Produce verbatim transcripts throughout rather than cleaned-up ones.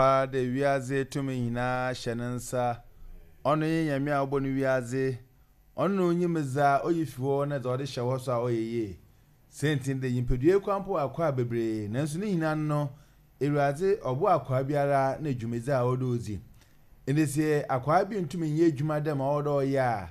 Paa dɛ wiadze tumi nyinaa hyɛ ne nsa. Ɔno nye Nyame a ɔbɔ no wiadze. Ɔno na onyim dza oyi fi hɔ na dza ɔde hyɛ hɔ so a ɔyɛ yie. Sɛnti dɛ nyimpadua yi koraa mpo wɔ akwaa bebree, nanso ne nyinaa no, Ewuradze ɔbɔ akwaa biara na dwumadzi a ɔwɔ dɛ odzi. Ndɛ sɛ akwaa bi ntumi nyɛ edwuma dɛ ma ɔwɔ dɛ ɔyɛ a,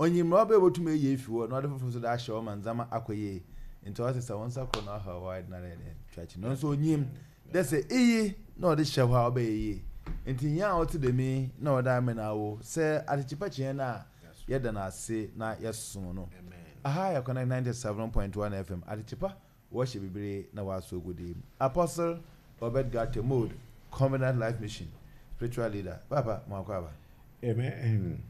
onyim mbrɛ ɔbɛyɛ obotum eyi efi hɔ na ɔde fofor so de ahyɛ hɔ ma ndzɛmba akɔ yie. Nti ɔsɛ sɛ wo nsa kor na ɔhaw hɔ ayɛ den ara dɛ twa akyi. Nanso onyim dɛ sɛ iyi na ɔde hyɛ hɔ a, ɔbɛyɛ yie. Nti nyia a ɔte dɛm yi na ɔde amena awo sɛ atekyepa kyeɛ no a, yɛda no ase na yɛsom no. Aha yɛ Connect ninety-seven point one F M, Atekyepa wɔhyɛ bebree na wɔasɔ ogudi. Apostle Obed Gate Mode, Covenant Life Mission spiritual leader. Papa, mo akɔ aba. Amen.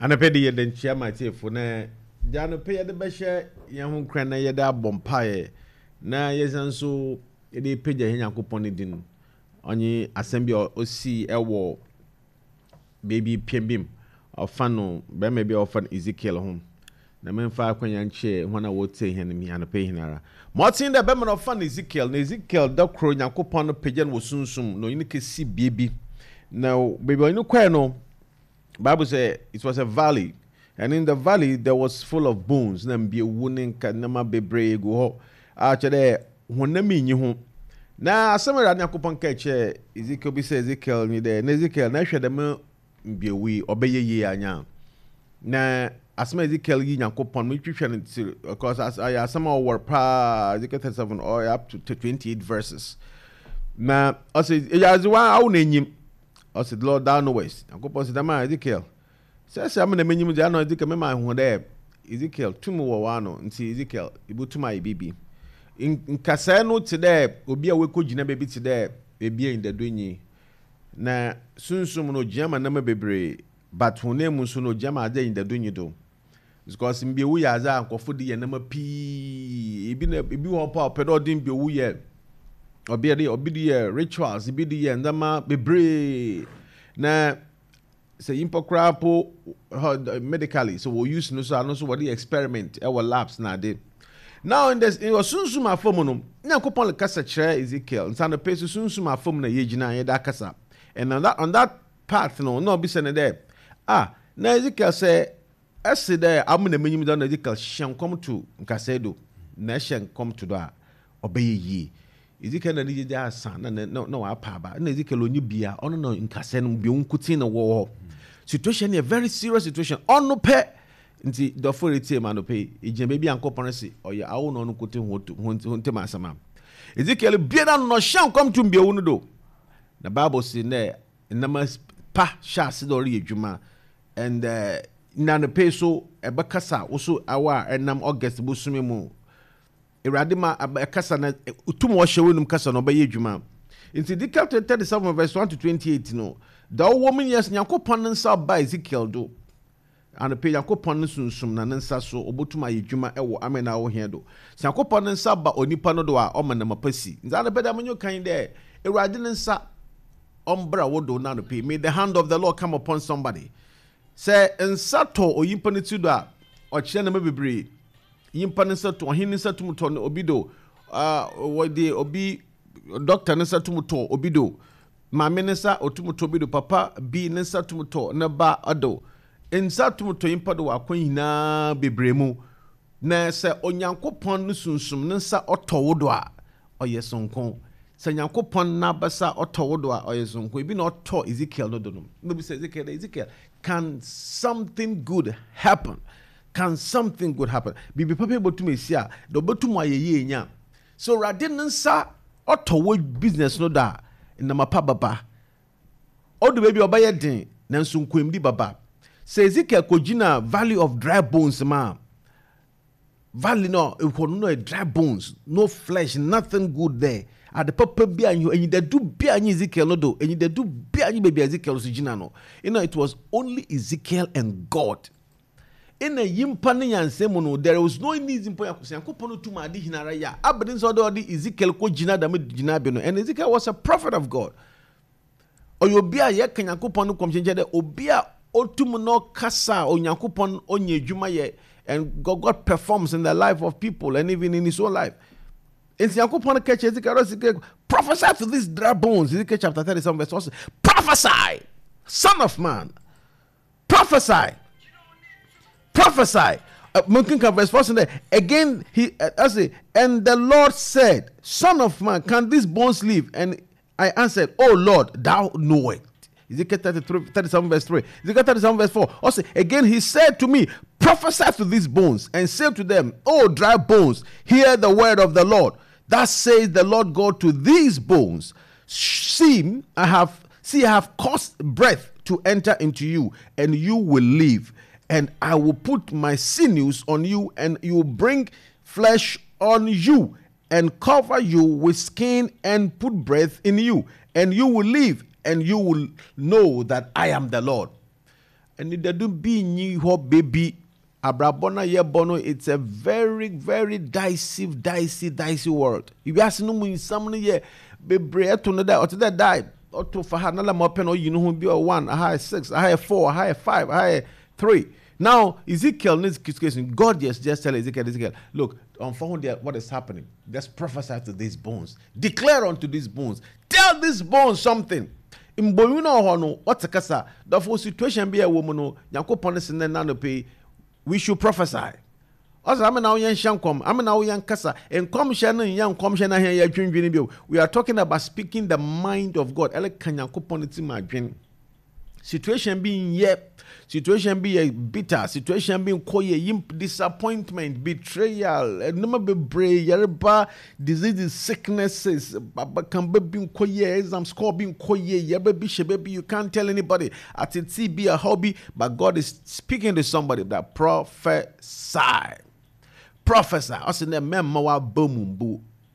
Anɔpɛ de yɛde nkyia ma atiefo na gya anɔpɛ yɛde bɛhyɛ yɛn ho nkran na yɛde abɔ mpaeɛ na yɛsan nso yɛde pagya yɛn Nyankopɔn ne din. Ɔnye asɛm bi a ɔsii ɛwɔ beebi pɛn bi mu, ɔfa no bɛrima bi a ɔfa no Ezekiel ho, na memfa akwanya nkyɛ wɔn a wɔtie hɛn mi anɔpɛ yi ara ma ɔten dɛ bɛrima no ɔfa no Ezekiel. Na Ezekiel da koro Nyankopɔn no pagya no wɔ sunsum na ɔnye no kɛsi bie bi, na beebi a ɔnye no kɔɛ no, Bible say it was a valley, and in the valley there was full of bones, na mbiewu ne nka nneɛma bebree gu hɔ a kyerɛ dɛ honam nyi ho. Na asɛm a Awurade Nyankopɔn ka kyerɛ Ezekiel bi sɛ Ezekiel ni dɛ, na Ezekiel na ɛhwɛ dɛm mbiewu yi, ɔbɛyɛ yie anya? Na asɛm a Ezekiel yi Nyankopɔn metwitwa no ti because ayɛ asɛm a ɔwɔ paa. Ezekiel thirty-seven ɔyɛ up to twenty-eight verses, na ɔsɛ ɛyɛ wa awo n'enyim. Ɔsɛ, "Lord, thou knowest." Nyankopɔn sɛ dɛm a Ezekiel sɛ sɛ ama na m'enyim deɛ ano Ezekiel mema ho dɛ Ezekiel tum wɔ w'ano, nti Ezekiel ibotum ayɛ biribi. Nkasɛɛ no te dɛ obi a wakɔ gyina baabi te dɛ beebi a ndado nyi na sunsum no ogyina ma nneɛma bebree, but honam mu nso no ogyina ma adze a ndado nyi do, because mbiewu yɛ adze a nkɔfo de yɛ nneɛma pii. Ebi na ebi wɔ hɔ po a ɔpɛ dɛ ɔde mbiewu yɛ ɔbi de ɔbi de yɛ rituals, ebi de yɛ nneɛma bebree. Na sɛ nyimpa koraa po medically sɛ wɔ use no so ano nso wɔde experiment ɛwɔ labs na ade. Now in the in sunsum afam no, Nyankopɔn kasa kyerɛ Ezekiel nsa no pɛ so sunsum afam na yɛgyina yɛde akasa, and on that on that part no na ɔbisa ne dɛ, ah, na Ezekiel sɛ ɛsi dɛ amu na menyim dɛ na Ezekiel hyɛ nkɔm to nkasɛɛ do na ɛhyɛ nkɔm to do a ɔbɛyɛ yie. Ezekiel na ne gyegye asa na na na wapa aba na Ezekiel onye bia ɔno na nkasɛɛ no bi nkotin na wɔ hɔ. Situation yɛ very serious situation, ɔno pɛ. Nti dɔfo retie ma no pɛ egyina baabi a Nkɔpɔn si ɔyɛ awo na ɔno nkotin ho ho ntɛm asɛm a Ezekiel bie na no ɔhyɛ nkɔm to mbiewu no do, na Bible si nɛ nnama pa hyɛ ase dɛ ɔreyɛ adwuma. And uh, na no pɛ so ɛbɛkasa woso awa a ɛnam August bosome mu, Awurade ma ɛkasa na tum ɔhyɛ wɔnum kasa na ɔbɛyɛ adwuma. Nti Ezekiel thirty seven verse one to twenty eight no da ɔwɔ mu nyɛ Nyankopɔn ne nsa ɔba Ezekiel do. Anɔpɛ Nyankopɔn ne sunsum na ne nsa so ɔbɛtum ayɛ adwuma ɛwɔ amen a ɔhia do. Sɛ Nyankopɔn ne nsa ba onipa no do a, ɔma nam apa si. Nti anɔpɛ dɛ amenyo kan dɛ Awurade ne nsa ɔmbra wo do. Na anɔpɛ, may the hand of the Lord come upon somebody. Sɛ nsa tɔ onyimpa no ti do a, ɔkyerɛ nneɛma bebree. Nyimpa ne nsa to, ɔhen ne nsa tum tɔ obi do, wɔde obi doctor ne nsa tum tɔ obi do, maame ne nsa otum tɔ obi do, papa bi ne nsa tum tɔ ne ba do. Nsa tum tɔ nyimpa do wɔ akwan nyinaa bebree mu. Na sɛ Onyankopɔn no sunsum ne nsa ɔtɔ wo do a, ɔyɛ sonko. Sɛ Nyankopɔn n'abasa ɔtɔ wo do a, ɔyɛ sonko. Ebi na ɔtɔ Ezekiel no do no na obi sɛ Ezekiel, "Ezekiel, can something good happen? Can something good happen?" Biribi papa bɛtum esi a na ɔbɛtum ayɛ yie nya so. Awurade ne nsa ɔtɔ wo business no do a, nnama pa baba. Ɔdo baabi a ɔbɛyɛ den, nanso nkonimdi baba. Sɛ Ezekiel kɔgyina valley of dry bones ma valley no ɛhɔ no no dry bones, no flesh, nothing good there. Ade papa bi a enyidadu bi a nye Ezekiel no do, enyidadu bi a nye baabi a Ezekiel so gyina no you know it was only Ezekiel and God. Ɛna yimpa ne nyansa mu no, there was no need mpo. Nyankopɔn no tum ade hinara yɛ a abene sɛ ɔde ɔde Ezekiel kɔ gyina dɛm gyina bi no. And Ezekiel was a prophet of God. Ɔyɛ obi a yɛka Nyankopɔn no kɔmhyɛnkyɛn dɛ obi a otum na ɔkasa a Onyankopɔn ɔnyɛ adwuma yɛ, and God, God performs in the life of people and even in his own life. Nti Nyankopɔn ka kyerɛ Ezekiel, Ezekiel, Prophesy to these dry bones. Ezekiel chapter thirty-seven verse one. Prophesy, son of man. Prophesy. Prophesy. Uh, verse four there. Again, he uh, I say, and the Lord said, Son of man, can these bones live? And I answered, Oh Lord, thou knowest. Ezekiel thirty-three, thirty-seven verse three. Ezekiel thirty-seven verse four. Also, again he said to me, prophesy to these bones and say to them, O dry bones, hear the word of the Lord. Thus says the Lord God to these bones, see, I have, see, I have caused breath to enter into you, and you will live. And I will put my sinews on you, and you will bring flesh on you, and cover you with skin, and put breath in you, and you will live, and you will know that I am the Lord. And it do be new baby. Abrabona yebono, it's a very, very dicey, dicey, dicey world. If you ask no in some year, be brave to know that or to that die or to for another more pen or you know who be a one, a high six, a high four, a high five, a high three. Now, Ezekiel needs situation. God just, just tell Ezekiel, Ezekiel, look, unfound what is happening. Just prophesy to these bones. Declare unto these bones. Tell these bones something. Mbonu na hɔ no, what kasa? The full situation be a woman no, Nyankopɔn se na no pay. We should prophesy. Also, I'm now yan shankom. I'm now yan kasa. And kom shan yan kom shan ya dream dream. We are talking about speaking the mind of God. Ele kan Nyankopɔn ti ma dream. Situation being yep, situation be a bitter, situation being koye, imp disappointment, betrayal, number be bray, yerba, diseases, sicknesses, baba can be koye, exam score being koye, yerba be baby, you can't tell anybody. At it be a hobby, but God is speaking to somebody that prophesy. Prophesy. I said,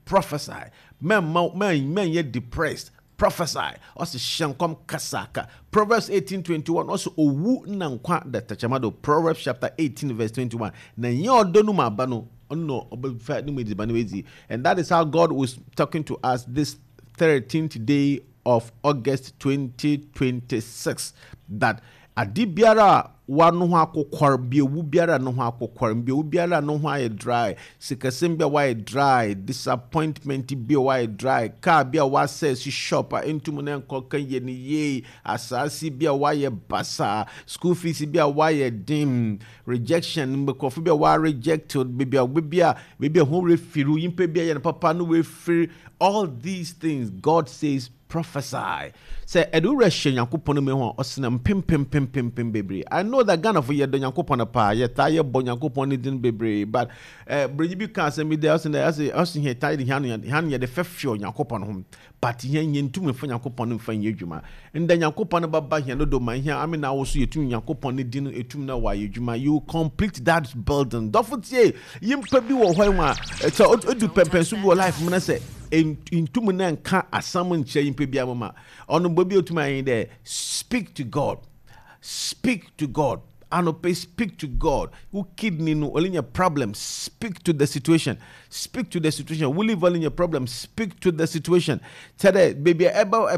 prophesy. Men men men yet depressed. Prophesy. Also shankom kasaka. Proverbs eighteen twenty-one. Also owu na nkwa da tachamado. Proverbs chapter eighteen verse twenty-one. Na nye odonu ma bano. Ono obefa ni medi bano ezi. And that is how God was talking to us this thirteenth day of August twenty twenty-six. That adibiara wa no ho akokwar biewu biara no ho akokwar biewu biara no ho aye dry sikasem bia wa dry disappointment bia wa dry car bia wa sell shop entum na nkoka ye ni ye asase bia wa ye basa school fees bia wa ye dim rejection mbekofo bia wa rejected bia bia bia ho refiru yimpe bia ye papa no refiru. All these things God says prophesy. Say edu reshe Nyankopɔn me ho osena pim pim pim pim pim bebre. I know that Ghana for ye do Nyankopɔn pa ye ta ye bo Nyankopɔn din bebre, but eh breji bi kan say me there osena say osin here tie the hand hand ye de fefio Nyankopɔn ho, but ye nye ntumi fa Nyankopɔn mfa nye adwuma. Nda Nyankopɔn baba here no do man here I mean na wo so yetum Nyankopɔn din etum na wa ye adwuma. You complete that building. Dofotie yimpa bi wo hɔ ma so odu pempenso bi wo life mu na say ntumu na nka asam nkyerɛ yimpa bia mama ono bobi otuma yin there. Speak to God. Speak to God. Anope, speak to God. Who kidney no only your problem, speak to the situation. Speak to the situation. Will live only your problem, speak to the situation. Today, baby, eba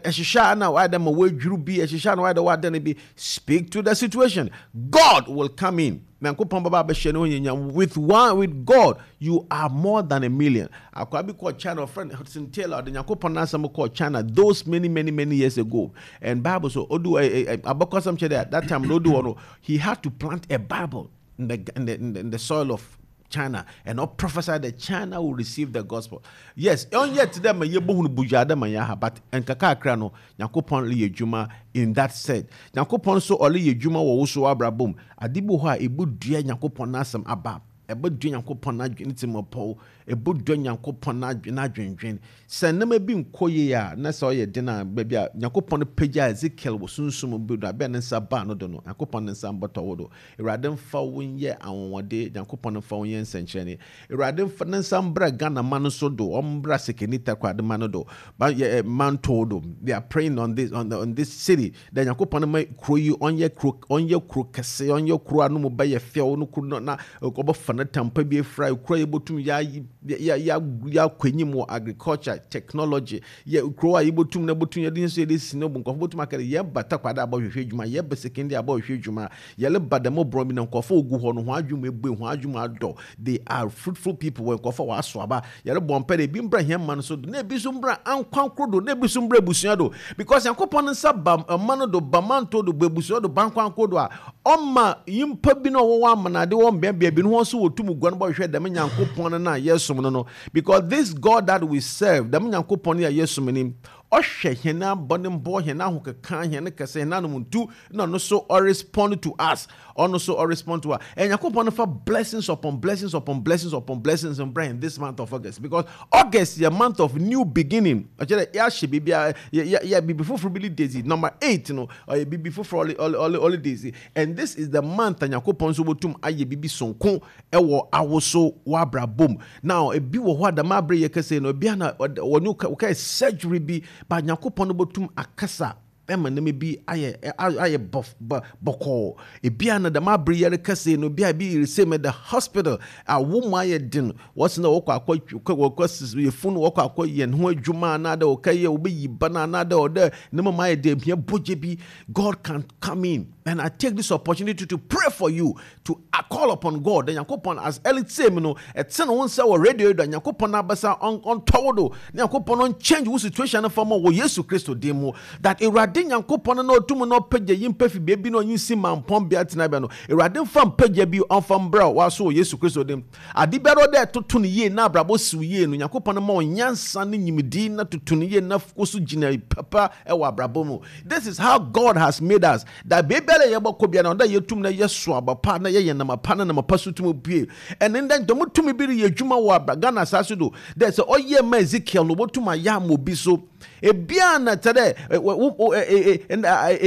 eshisha na why them away drew be eshisha na why the what then be. Speak to the situation. God will come in. With one, with God, you are more than a million. Akwabi called China friend Hudson Taylor, the Nyankopɔn asɛm called China those many, many, many years ago. And Bible so Odu abakosam che that time no do he had to plant a Bible in the in the, in the, in the soil of China and not prophesy that China will receive the gospel. Yes, on yet them ye bohunu bujada man but enkaka akra no Nyankopɔn le yedwuma in that said. Nyankopɔn so ole yedwuma wo so abrabom. Adibu ho a ebu dua Nyankopɔn n'asɛm aba. Ebo dua Nyankopɔn n'adwene timopɔ. Ebo dua Nyankopɔn n'adwene adwendwen. Sɛ nema bi nkɔ ye a na sɛ ɔyɛ den a ba bia Nyankopɔn pagya Ezekiel wo sunsum bi do abɛ ne nsa ba no do no. Nyankopɔn ne nsa mbɔtɔ wo do. Awurade mfa wo nyɛ anwonwade, Nyankopɔn mfa wo nyɛ nsɛnkyerɛnne. Awurade mfa ne nsa mbra Ghana man so do, ɔmbra Sekeni Takoradi man do. Ba ye manto do. They are praying on this on the, on this city. Da Nyankopɔn ma kro yi ɔnyɛ kro ɔnyɛ kro kɛse, ɔnyɛ kro anu mu ba ye fɛw no kro na ɔbɛfa ne tampa bi efra kro yi botum ya Yɛakɔ enyim wɔ agriculture, technology. Yɛ kuro a yɛbɛtum na bɛtum yɛde nso yɛde si no bu nkɔfo bɛtum aka dɛ yɛba Takwade abɔhwehwɛ adwuma, yɛba Sekondi abɔhwehwɛ adwuma, yɛleba dɛm borɔ bi na nkɔfo ogu hɔ no ho adwuma ebue, ho adwuma adɔ. They are fruitful people. Wɔ nkɔfo wɔaso aba. Yɛrebɔ mpɛ dɛ ebi mbra hɛn ma no so do, na ebi nso mbra ankwankoro do, na ebi nso mbra abusua do, because Nyankopɔn nsa ba ɔma no do, ba manto do, ba abusua do, ba nkwankoro do a, ɔma nyimpa bi na ɔwɔ amanade wɔ mbeabea bi no wɔn nso wɔtum guan bɔhwehwɛ dɛm Nyankopɔn no na yɛsom no no because this God that we serve, dɛm Nyankopɔn no a yɛsom no, ɔhwɛ hɛn abɔne mbɔ, hɛn ahokeka, hɛn kɛsɛ, hɛn anomntu, na ɔno so ɔrespond to us. Ɔno so ɔrespond to us. And Nyankopɔn no fa blessings upon blessings upon blessings upon blessings mbra in this month of August, because August yɛ month of new beginning. Ɔkyerɛ dɛ yɛahyɛ biribi a yɛ yɛ biribi foforɔ bi le daisy. Number eight no ɔyɛ biribi foforɔ ɔle ɔle ɔle daisy, and this is the month a Nyankopɔn nso wɔtum ayɛ biribi sonko ɛwɔ awoso w'abrabom. Now ebi wɔ hɔ a dɛm abere yɛ kɛse no, ebi ana wɔne wɔkɛ surgery bi ba, Nyankopɔn no bɛtum akasa ɛma nneɛma bi ayɛ ayɛ bɔ bɔkɔɔ. Ebi a na dɛm abere yɛre kɛse no, ebi a ebi resɛ mu the hospital awo mu ayɛ den, wɔsi na wɔkɔ akɔ wɔkɔ yɛfunu, wɔkɔ akɔ yɛn ho adwuma, anaadɛ wɔkɛ yɛ wɔbɛyi ba no, anaadɛ ɔdɛ nneɛma mu ayɛ den, ebia bɔgye bi. God can come in, and I take this opportunity to pray for you, to call upon God. The Nyankopɔn as early same no ɛte ne ho nsa wɔ radio yi do a, Nyankopɔn abasa ɔntɔwo do na Nyankopɔn ɔnchange wo situation no fam wɔ Yesu Kristo din mu, that Awurade Nyankopɔn no na ɔtum na ɔpagya yi mpa fi beebi na ɔnyi si mampɔn bea tenabea no, Awurade mfa mpagya bi ɔmfa mbrɛ waso wɔ Yesu Kristo din. Ade biara ɔdɛ ɛtoto no yie na abrabɔ siw yie no, Nyankopɔn ma ɔnyansa ne nyimdi na toto no yie na kɔ so gyina papa ɛwɔ abrabɔ mu. This is how God has made us, that beebiara yɛbɛkɔ bia na ɔdɛ yɛtum na yɛso aba pa na yɛyɛ nama pa na nama pa so tum pue. Ɛne ndɛ ntɔm tumi bi reyɛ adwuma wɔ abra Ghana asase do dɛ sɛ ɔyɛ ma Ezekiel no, wɔtum ayɛ ama obi so. Ebia na kyɛ dɛ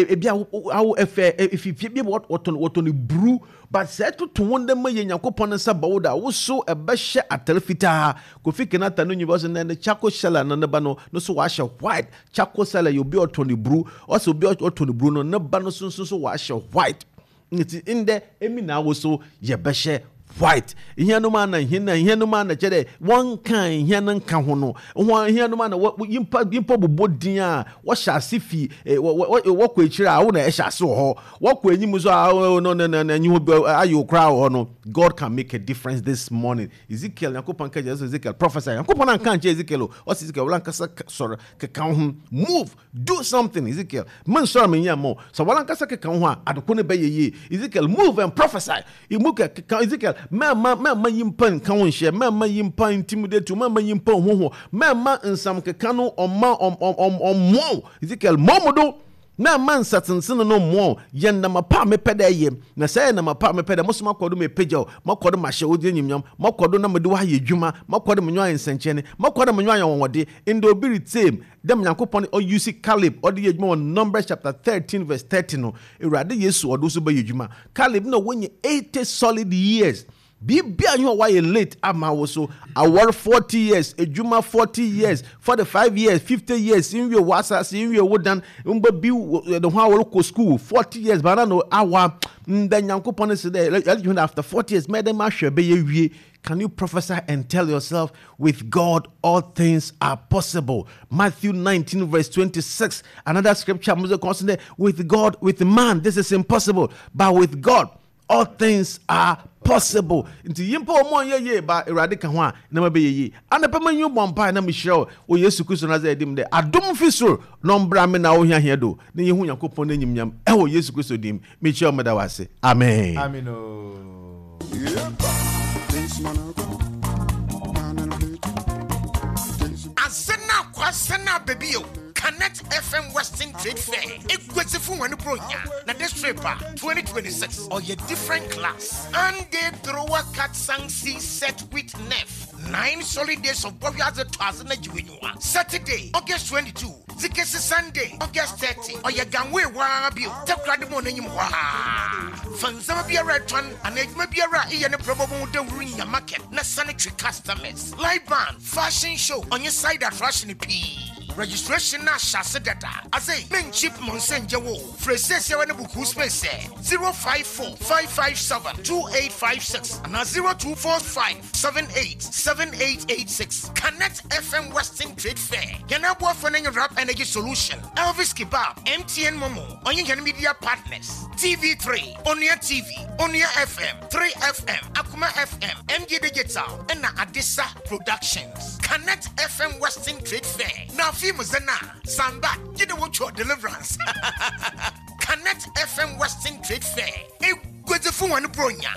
ebia awo ɛfɛ efifie bi wɔtɔn wɔtɔn buru, but sɛ ɛtoto wɔn dɛ ma yɛ Nyankopɔn nsa ba wo da woso ɛbɛhyɛ atare fitaa. Kofi Kenata no nyiba so na ne charcoal seller no ne ba no no so wahyɛ white. Charcoal seller yɛ obi a ɔtɔn ne buru. Ɔsɛ obi a ɔtɔn ne buru no, ne ba no so nso so wahyɛ white. Nti ndɛ emi na awo so yɛbɛhyɛ white. Ihia no ma na ihia na ihia no ma na kyerɛ dɛ wɔnka ihia no nka ho no ho. Ihia no ma na nyimpa nyimpa bobɔ din a wɔhyɛ ase fi wɔkɔ akyire a wo na ɛhyɛ ase wɔ hɔ, wɔkɔ anim so a no no no no enyi hɔ ayɛ okora wɔ hɔ no. God can make a difference this morning. Ezekiel, Nyankopɔn ka kyerɛ Ezekiel, prophesy. Nyankopɔn anka nkyerɛ Ezekiel o, ɔsɛ Ezekiel wɔn ankasa sɔrɔ keka ho, move, do something. Ezekiel, men sɔrɔ mi nyɛ mo sɛ wɔn ankasa keka ho a, adeko no bɛyɛ yie. Ezekiel, move and prophesy. Emu keka Ezekiel, mɛma mɛma yimpa nka ho nhyɛ, mɛma yimpa intimidate, mɛma yimpa hoho, mɛma nsam keka no ɔma ɔm ɔm ɔmmoa. Ezekiel, mɔmu do mɛma nsatensene no mmoa. Yɛ nnama pa a mepɛ dɛ yɛ na sɛ yɛ nama pa a mepɛ dɛ mo so makɔ do mepagya wo, makɔ do mahyɛ wo nyimnyam, makɔ do na mede wo ayɛ adwuma, makɔ do menyo ayɛ nsɛnkyerɛnne, makɔ do menyo ayɛ wɔwɔde. Ndɛ obi retie dɛm Nyankopɔn ɔyusi Caleb ɔde yɛ adwuma wɔ Numbers chapter thirteen verse thirty no, Awurade Yesu ɔde so bɛyɛ adwuma. Caleb na wɔnyɛ eighty solid years, biribia nyɛ wayɛ late ama wo so. Awɔre forty years, adwuma forty years, forty-five years, fifty years, nwie wo asase, nwie wo dan mba bi ne ho a wɔrekɔ school forty years bana no awa. Ndɛ Nyankopɔn sɛ dɛ after forty years mɛdɛ mahwɛ bɛyɛ wie. Can you prophesy and tell yourself, with God, all things are possible? Matthew nineteen, verse twenty-six. Another scripture, with God, with man, this is impossible. But with God, all things are possible. Nti yimpa ɔmo nyɛ yie ba, Awurade ka ho a na ma bɛyɛ yie. Anapa ma nyi bɔ mpae na mehyira wo wɔ Yesu Kristo na sɛ ɛdim dɛ adom fi soro na ɔmbra me na wo hiahia do na yɛhu Nyankopɔn n'anyimnyam ɛwɔ Yesu Kristo dim. Mehyira wo, meda wo ase. Amen. Amen o. Asena kwasena baby o. Connect F M Western Trade Fair. Eguasifo wɔn bronya na this trip a twenty twenty-six or your different class. And they throw a cat sang see set with nef. Nine solid days of Bohwaze Twazena Jiwinyua. Saturday, August twenty-two. Zikesi Sunday, August thirty. Ɔyɛ ganwe waa bio. Takoradi mu n'enyim hɔ a. Fansama biara ɛtɔn anaa adwuma biara a eyɛ ne brɛbɔ mu dawuro nya market na sanitary customers. Live band, fashion show, ɔnye side attraction pii. Registration na hyɛ dada. Ase men cheap monsenje wo. Frɛ ne book space zero five four five five seven two eight five six and zero two four five seven eight seven eight eight six. Connect F M Western Trade Fair. Yanabu Funding Rap Energy Solution. Elvis Kebab, M T N Momo, Onye Media Partners, T V three, Onia T V, Onia F M, three F M, Akuma F M, M G Digital, and Adisa Productions. Connect F M Western Trade Fair. Now, Zena, Samba, you know what your deliverance. Connect F M Western Trade Fair. A good phone bronya.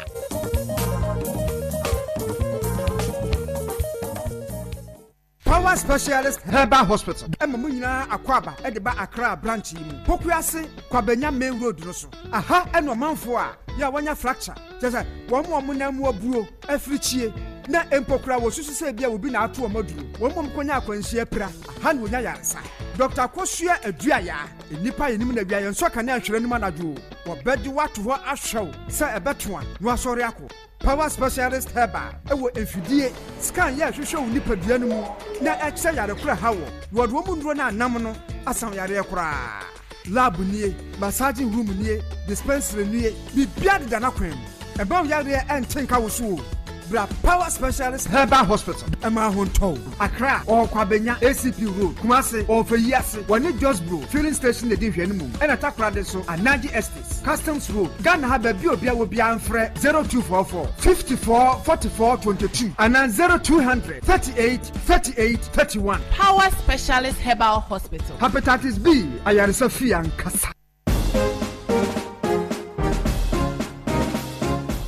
Power Specialist Herbal Hospital. Emma Muna Akwaba, Ediba Accra branch. Pokuase, Kwabenya Main Road Rosso. Aha, and one for ya wanya fracture. Just one more munamu buo, every chie. Na empokra wo susu se bia obi na ato omaduro. Wo mom konya akwanhia pra. Aha na onya yaresa. Doctor Kosua Aduaya, enipa yenim na bia yenso ka na nhwere num anadwo. Wo bedi wato ho ahwew se ebeto a no asori akọ. Power Specialist Herbal, ewo enfidie, scan ye hwehwe wo nipadua no mu na ekyɛ yare kora hawo. Wo do mu nduro na anam no asan yare kora. Lab nie, massaging room nie, dispensary nie, bibia de na kwan. Eba wo yare entenka wo so. Bra Power Specialist Herbal Hospital. Emma Honto, Accra, or Kwabenya, A C P Road, Kumasi, or Feyiase, Wani Josbro, filling station, the Dinhenum, and Atakradeso, Anaji Estates, Customs Road, Ghana Habe Biobia will be Anfre zero two four four fifty-four forty-four twenty-two and then zero two hundred thirty-eight thirty-eight thirty-one. Power Specialist Herbal Hospital. Hepatitis B, Ayarisa Fian Kasa.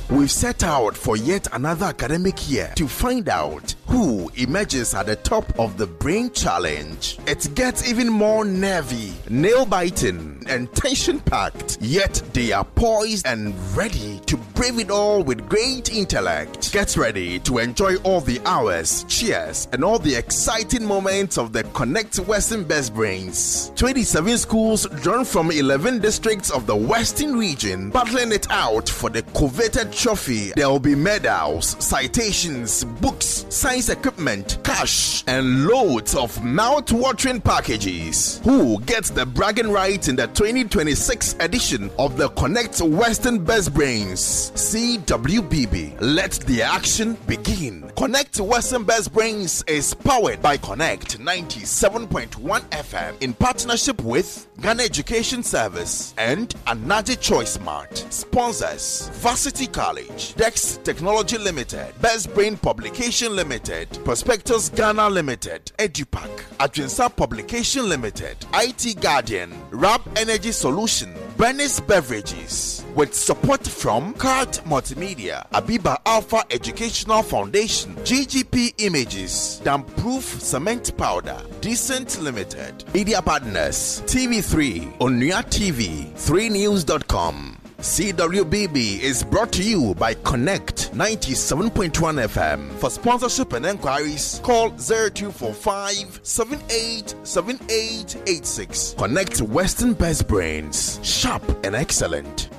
We've set out for yet another academic year to find out who emerges at the top of the Brain Challenge. It gets even more nervy, nail-biting, and tension-packed. Yet they are poised and ready to brave it all with great intellect. Get ready to enjoy all the hours, cheers, and all the exciting moments of the Connect Western Best Brains. twenty-seven schools drawn from eleven districts of the Western region, battling it out for the coveted trophy. There will be medals, citations, books, science equipment, cash, and loads of mouth-watering packages. Who gets the bragging rights in the twenty twenty-six edition of the Connect Western Best Brains? C W B B. Let the action begin. Connect Western Best Brains is powered by Connect ninety-seven point one F M in partnership with Ghana Education Service and Anaji Choice Mart. Sponsors: Varsity College, Dex Technology Limited, Best Brain Publication Limited, Prospectus Ghana Limited, Edupac, Adrinsa Publication Limited, I T Guardian, Rap Energy Solution, Bernice Beverages, with support from Cart Multimedia, Abiba Alpha Educational Foundation, G G P Images, Damproof Cement Powder, Decent Limited, Media Partners, T V three, Onua T V, three news dot com. C W B B is brought to you by Connect ninety-seven point one F M. For sponsorship and enquiries, call zero two four five seven eight seven eight eight six. Connect Western Best Brains, sharp and excellent.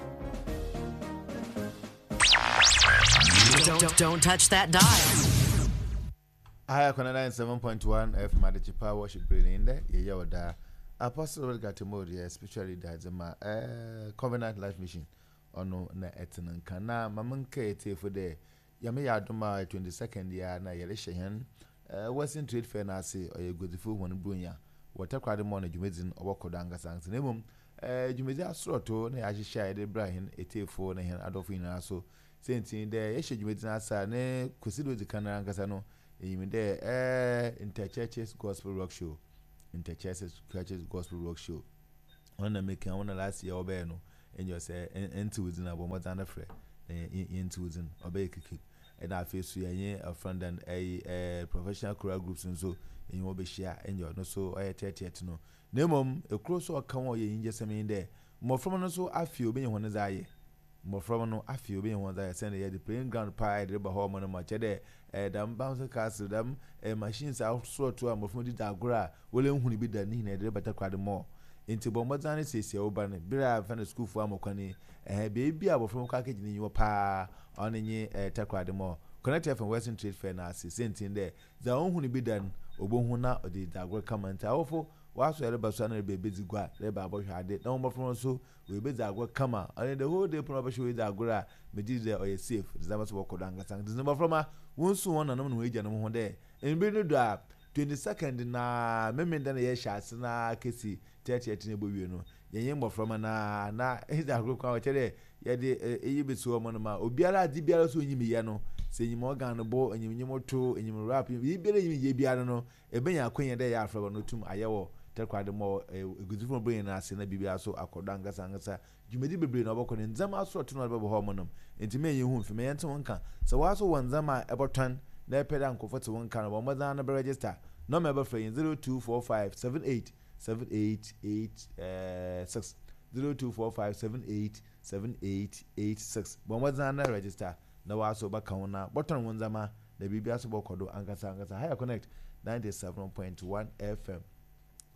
Don't, don't touch that dial. I have ninety-seven point one F M Adichipa worship in there. Yeah, Apostle Gatemori, especially that uh, Covenant Life Mission. Ono na etinan kana mamanka ete for the yame yadoma twenty-second year na yele hen Western Trade Fair na ase oye godifo won brunya water crowd mo na dwumedin obokodo ankasa nti na emom eh dwumedi asoroto na ya hyehyɛ ye de brahin etefo na hen adofo nyina so sentin de ye hye dwumedin asa ne kwesido di kana ankasa no eyimi de eh Interchurches Gospel Rock Show Interchurches Gospel Rock Show on na make on last year obe no enyo say enti within abomota na frɛ enti within obe kiki and I face you a friend and a professional choral groups and so in your be and no so I thirty no name a cross or come or ye just in there more from no so I feel being one as I more from no I feel being one I send the playing ground pie the home on much there them bouncer castle them machines out so to a more from the dagra will only be done in a better crowd more. Into Bombazani says, Oban, Bira, find a school for Amokani, and baby, I will from Kaki in your pa on any tackle more. Connected from Western Trade Fair now, sent in there. The own who be done obohu na ɔde dagor kama nti awofo waso yɛreba so ana reba ebedzi gua reba abɔhwɛ ade na wɔn mmɔfra nso wɔebedzi agor kama ɔne the whole day pono ɔbɛhyɛ wɔedzi agor a megye dɛ ɔyɛ safe ndzɛmba so wɔkɔ do ankasa nti mmɔfra ma wɔnsu wɔn nanom ne wɔn agyanom ho dɛ mbir no do a twenty second na memenda na yɛhyɛ ase na kesi thirtieth na ɛbɔ wie no yɛnyɛ mmɔfra ma na na ɛdzi agor kwan wɔkyerɛ dɛ yɛde eyi besi hɔ no ma obiara adze biara so onyim yɛ no sɛ enyim organ bɔ enyim nyim to enyim rap biribiara enyim yɛ biara no ebenya akwanya dɛ yɛ afrɛ no tum ayɛ wɔ Takoradi mɔ eguzifo bere nyinaa ase na biribiara so akɔdɔ ankasa ankasa dwumadi bebree na ɔbɛkɔ ne ndzɛmba asorɔto na ɔde bɛbɔ hɔ nom nti mɛ yɛn hu mfi mɛ yɛn te wɔn nka sɛ wɔaso wɔ ndzɛmba a ɛbɔtɔn na ɛpɛ dɛ nkorɔfo te wɔn nka no wɔn mmɔdzen no bɛ register nɔɔma ɛbɛfrɛ yɛn zero two four five seven eight seven eight eight six zero two four five seven eight seven eight eight six wɔn mmɔdzen no register na wɔaso bɛka ho na bɔtɔn wɔn ndzɛmba na biribiara so bɔkɔ do ankasa ankasa higher connect ninety seven point one fm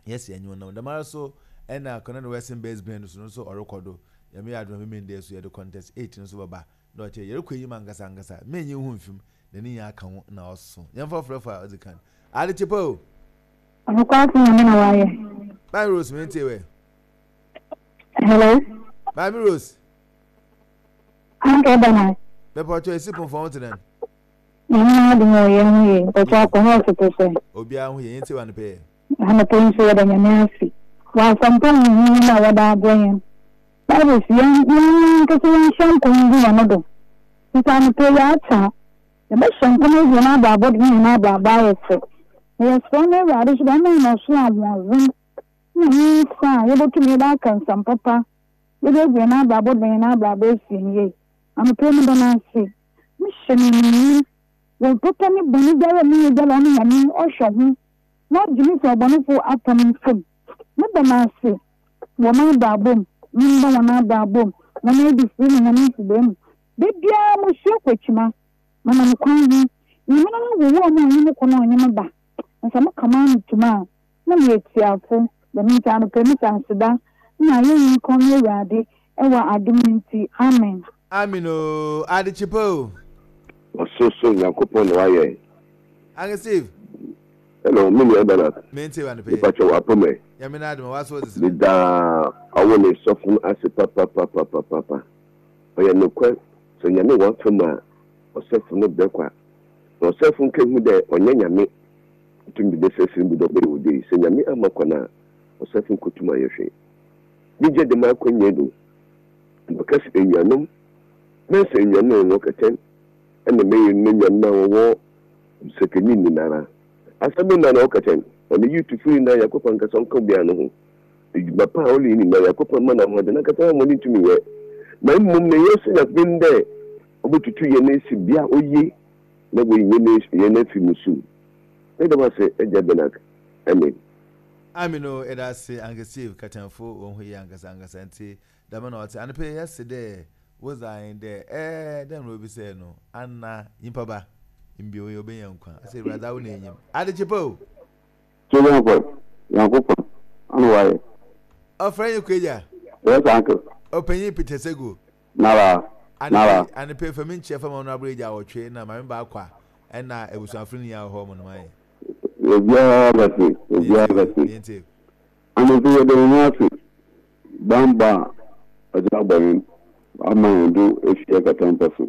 yes yɛn nyɛ nam dɛm so ɛna connect western based band so no nso ɔrekɔ do yɛmɛ yɛ adum mímí ndé so yɛde contest eight nso bɛba na ɔkyɛ yɛrekɔ enyim ankasa ankasa mɛ nyɛ hu nfim na ne nyɛ aka ho na ɔso yɛn fɔ frɛ fɔ a ɔdzi kan ade kyepa o. ɔnukwa afɔ nyame na wayɛ. Maame Rose mi n tie wɛ. Hello. Maame Rose. Anka ɛda na. Bɛpɛ ɔtɔ esi pɔn fɔn tena. Nyame na adi mu ɔyɛ ho yɛ ɔtɔ akɔ hɔ ɔsoto sɛ. Obiara ho yɛ yɛn ti wa no pɛɛ. Anɔpɛ nso yɛda nyame ase wɔ asɛmpa huhu no a wɔda abrɛ yɛn Bible si yɛn yɛn nkasa yɛnhyɛ nkɔm gu yɛn do nti anɔpɛ yɛ ata yɛbɛhyɛ nkɔm agu yɛn abrabɔ de ne yɛn abrabɔ ayɛ fɛ na yɛsrɛ no Awurade so dɛ ɔma yɛn ɔsoro ahoɔden na ne nsa a yɛbɛtumi yɛde aka nsɛm papa yɛde agu yɛn abrabɔ de yɛn abrabɔ asi yɛn yie anɔpɛ mu da no ase mehyɛ no animuonyam wɔ papa ne bɔne biara a meyɛ biara ɔno nyame ɔhwɛ ho na ɔgye me sɛ ɔbɔnefo apam nsam meda no ase wɔ m'abrabɔ mu memba wɔn abrabɔ mu wɔn adifiri ne wɔn mfidie mu da biara musua kɔ akyima manam kwan ho nyame no wowɔ mu a ɔnyɛ me kɔ na ɔnyɛ me ba nsa meka maa no tuma a na meyɛ tiafo dɛm nti anɔpɛ mi sa aseda na ayɛyi nkɔm ne Awurade ɛwɔ adom nti amen. Amen o ade kyepa o. Ɔsorosoro Nyankopɔn na wayɛ. Ange Steve. Hello, me nua Bernard. Me nti wa no pɛ. Nipa kyɛ wɔ apɔmɛ. Nyame na adom wa so wɔdze. Meda ɔwɔ ne sɔfo no ase papapapapapa. Ɔyɛ nokwar sɛ Nyame wɔ afam a ɔsɔfo no brɛ kwa. Na ɔsɔfo nkehu dɛ ɔnyɛ Nyame. Tum de bɛsɛsɛ mu dɛ ɔbɛyɛ wo sɛ Nyame ama kwan a ɔsɔfo nkotum ayɛ hwee. Megye dɛm akɔnyɛ do. Mbɛka sɛ enuanom, mɛsɛ enuanom a wɔwɔ kɛtɛn ɛna mɛyɛ no nuanom a wɔwɔ sɛkɛni nyinara. Asɛm na na ɔkɛtɛn ɔne yutufo nyinaa Yakɔpɔn ankasa ɔnka obiara no ho. Edwuma pa a ɔreyɛ nyinaa Yakɔpɔn ma no ahoɔden ankasa wɔn ntumi yɛ. Na mmom na yɛsɛ Nyankopɔn dɛ ɔbɛtutu yɛn esi bea oye na wɔyi yɛn yɛn afi mu sum. Ne dɛm ase agya Benak. Amen. Amen o ɛda ase Ange Steve katanfo wɔn ho yie ankasa ankasa nti dɛm na ɔte anɔpɛ yɛse dɛ wodze ahen dɛ ɛɛ dɛm na obi sɛ no anna nyimpa ba mbio yi obenya nkwa asɛ Awurade awo na enyim ade kyepa o. Nyankopɔn, Nyankopɔn, ɔno wayɛ. Ɔfrɛ yi kweja. Yes, uncle. Ɔpanyin Peter Sego. Nara, nara. Anɔpɛ fami nkyɛn fam ɔno abere gya awɔtwe na maame baako a ɛna abusuafo no nyinaa wɔ hɔ ɔmo nom ayɛ. Obiara bɛte, obiara bɛte. Anɔpɛ yɛde wo ho ase. Bamba a ɔdze abɔ yɛn ama yɛn do efi akatampa so.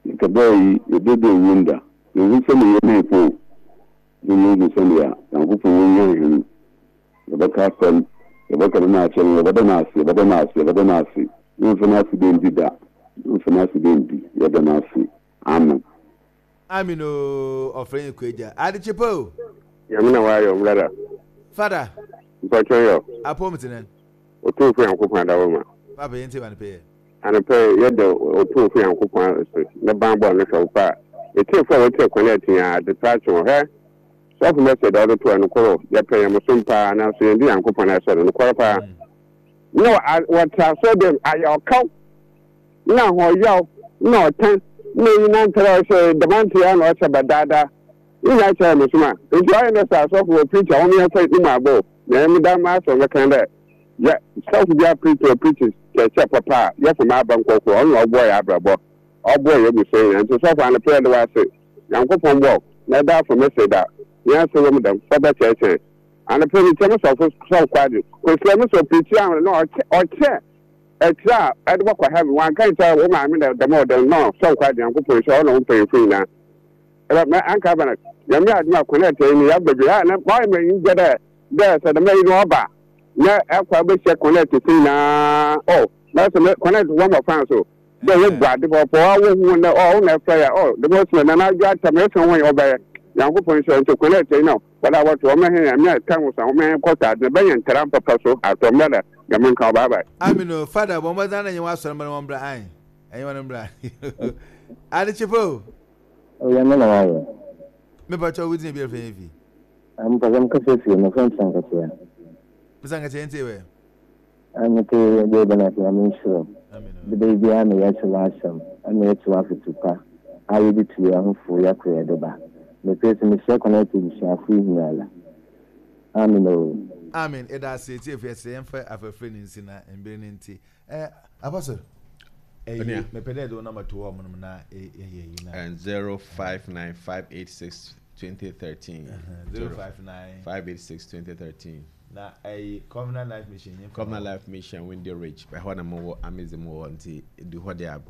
Nkɛbɛɛ yi yɛdede nwom da. Yɛhu sɛnea yɛn po. Ne yɛhu sɛnea Nyankopɔn wɔnyɛ hɛn. Yɛbɛka asɛm, yɛbɛka no n'akyɛ no, yɛbɛda no ase, yɛbɛda no ase, yɛbɛda no ase. Yɛmfa no ase dɛ ndi da. Yɛmfa no ase dɛ ndi. Yɛda no ase. Amen. Amen o ɔfrɛ yi kweja ade kyepa o. Nyame na wayɛ ɔmbrada. Fada. Mpɔtɔ yɔ. Apɔm tenen. Otumfo Nyankopɔn adawoma. Papa yɛn ti wa no pɛyɛ. Anɔpɛ yɛda Otumfo Nyankopɔn ase ne banbɔ no hwɛ wo pa. Etiefo a wɔtie kwan ati a ade pa akye wɔ hɛ. Sɔfo mɛsɛ da ɔde to ɛno koro yɛpɛ yɛn mosom paa nanso yɛn di Nyankopɔn ɛsɛ no nokware paa. Na wɔte asɔ dɛm ayɛ ɔkaw na ahoɔyaw na ɔtan na eyi nantare a ɔhyɛ damantere a na ɔhyɛ badaadaa. Nyinaa kyerɛ mo som a nti ɔyɛ ne sɛ asɔfo wɔ preach a wɔn yɛn fɛ ne mu abɔ na ɛmu da ma asɔ mɛkan dɛ yɛ sɔfo bi a preach wɔ preach kyerɛkyerɛ papa a yɛfo ma aba nkɔkɔ ɔno na ɔboɔ yɛ abrabɔ ɔboɔ yɛ abusua nyinaa nti sɔfo anɔpɛ yɛde wɔ ase Nyankopɔn bɔ na ɛda afɔ mɛsɛ da Yɛn ase wɔ mu dɛm fɔbɛ kyerɛkyerɛ anapɛ mi kyɛn sɔfo sɔfo kwadi kosua mi sɔ pirikyi ahoro na ɔkyɛ ɔkyɛ ɛkyerɛ a ɛde bɔkɔ heaven wɔn anka nkyɛn wɔn maame na dɛm ɔdɛm no sɔfo kwadi yankopɔn nhyɛ ɔna wɔn mpanyinfo nyinaa ɛbɛ mɛ anka abana nyame adum akɔnɛ ɛtɛ yi yaba bi ha na ɔyɛ mɛ yi gya dɛ dɛ sɛ dɛm yi no ɔba na ɛkɔ abɛhyia kɔnɛ ɛtɛ si nyinaa ɔ na sɛ mɛ kɔnɛ ɛtɛ wɔn mɔ fan so dɛ wo bu ade pɔpɔ awo hu na ɔ na ɛfɛ ya ɔ dɛm ɔsɛ na n'adwa atam ɛsɛ wɔn yɛ ɔbɛyɛ yankopɔn nhyɛ nti kɔnɛ ɛtɛ yi na wɔde awɔto wɔn hɛn yɛn mɛ kan wɔ sa wɔn hɛn kɔta adi na bɛyɛ ntara papa so atɔ mɛ da yɛn nka ɔbaa baa. Amino fada bɔn bɔ zan na yɛn wa sɔrɔ mbɛ wɔn bra ayi ɛyin wɔn bra adekyepo. Oyɛ mɛ na wayɛ. Mepa kyɛw wo dzin bi ɛfɛ yɛn fi. Mpɛ sɛ mkasa fie mefrɛ Msankakyia. Msankakyia ntie wɛ. Mete deɛ bɛn ase Nyame nhyira. De baabiara na yɛte w'asɛm ɛna yɛte w'afotu pa a yɛde tu yɛn ho fo yɛkɔ yɛde ba. Mepɛ sɛ mehyia kɔnɛte abusuafo yi nyinaa. Amen o. Amen. Ɛda ase etiefo yɛsɛ yɛmfa afɛfrɛ ne nsi na mbere ne nti. Eh, Apostle. Eh, mepɛ dɛ de wo number to hɔ ɔmo na yɛyɛ yi na. And zero five nine five eight six twenty thirteen. Zero five nine five eight six twenty thirteen. Na ɛyi Covenant Life Mission. Covenant Life Mission Windy Ridge. Ɛhɔ na mo wɔ Amazon mo wɔ nti du hɔ de a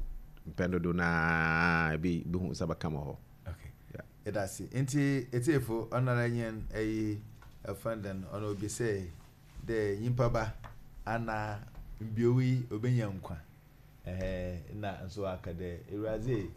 mpɛn dodo na ebi bi hu saba kama hɔ. Okay. Ɛda ase nti etiefo ɔnara yɛn ɛyi ɛfɛn ɔno obi sɛ dɛ nyimpa ba ana mbiowi obenya nkwa. Eh na nso aka dɛ Ewuradze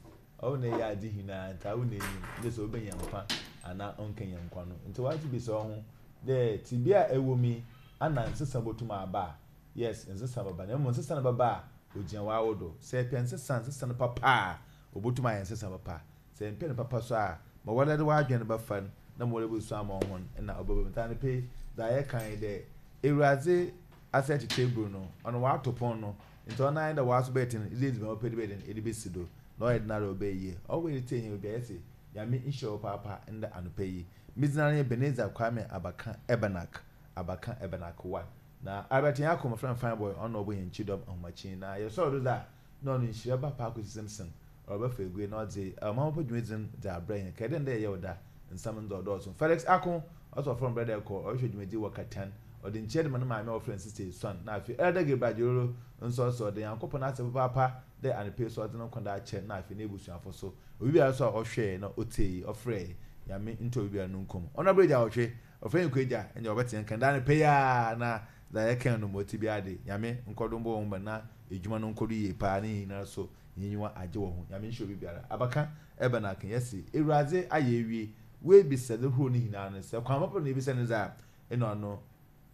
ɔwo na ɛyɛ ade hinaa nti awo na enyim dɛ sɛ obenya nkwa ana ɔnkenya nkwa no nti wagye bi sɛ ɔho dɛ tibia ɛwɔ mi ana nsesa botum aba. Yes, nsesa baba na mmom nsesa no baba a ogyina w'awo do sɛ ɛpɛ nsesa nsesa no papa a obotum ayɛ nsesa papa sɛ mpɛ no papa so a ma wɔde de w'adwene bɛfa no na ma wɔde bɛsu ama ɔho na ɔbɛba mu nti pe dza yɛka yi dɛ Ewuradze asɛ tete eburu no ɔno w'ato pɔn no nti ɔno ayɛ dɛ w'aso bɛyɛ ten ɛde edziban pɛ de bɛyɛ den ɛde bɛsi do na ɔyɛ den ara ɔbɛyɛ yie ɔwɔ yɛ tie yɛn obi ayɛ sɛ Nyame nhyira wo paapa nda anɔpa yi medzina ne Ebenezer Kwame Abaka Ebenak Abaka Ebenak one na Albert Nyako my friend fine boy ɔno ɔbɔ yɛn kyidɔm ahomakyin na yɛsɔre do dza na ɔno nhyira ba paako Simpson ɔbɛfa egue na ɔdze ɔmamapa dwumadzi dze abrɛ yɛn kɛdɛ ndɛ yɛyɛ ɔda nsɛm ndɛ ɔdɔɔso Felix Ako ɔsɔ ɔfrɛ brɛda ɛkɔ ɔrehwɛ dwumadzi wɔ Katan ɔde nkyɛn de ma ne maame a ɔfrɛ Sister Esuan na afei Elder Gabriel Adjororo nso ɔsɔ ɔde Nyankopɔn ase papaapa dɛ anɔpa so ɔdze no nkɔda akyɛ na afei n'ebusuafo so obi biara so a ɔhwɛɛ na ɔtee ɔfrɛ Nyame nto obi biara no nkom ɔno abere gya ɔhwɛ ɔfrɛ nkɔ agya ɛnyɛ ɔbɛte nkan da anɔpa yi a na dza yɛka no mo ti biara de Nyame nkɔdo mbɔ wɔn ba na edwuma no nkɔdo yie paa ne nyinaa so nyinyiwa agye wɔ ho Nyame nhyɛ obi biara abaka ɛbɛn aka yɛsi Ewuradze ayɛ ewie woebisa de horow ne nyinaa no sɛ kwan papa na ebisa ne dza ɛna ɔno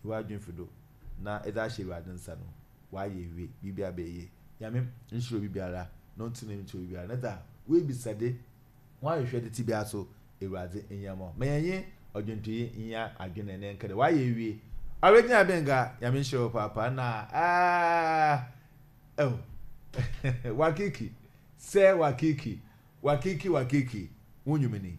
wadwen fi do na ɛdze ahyɛ Ewuradze nsa no wayɛ ewie biribi abɛyɛ Nyame nhyɛ obi biara na ɔntena mu nkyɛ obi biara na dza woebisa de wɔahwehwɛ de ti biara so Ewuradze nyɛmɔ ma yɛnye ɔdwonto yi nya adwene ne nkɛdɛ wayɛ ewie ɔregyina benga Nyame nhyɛ wo paapa na aa oh wakiki sɛ wakiki wakiki wakiki wonyumini.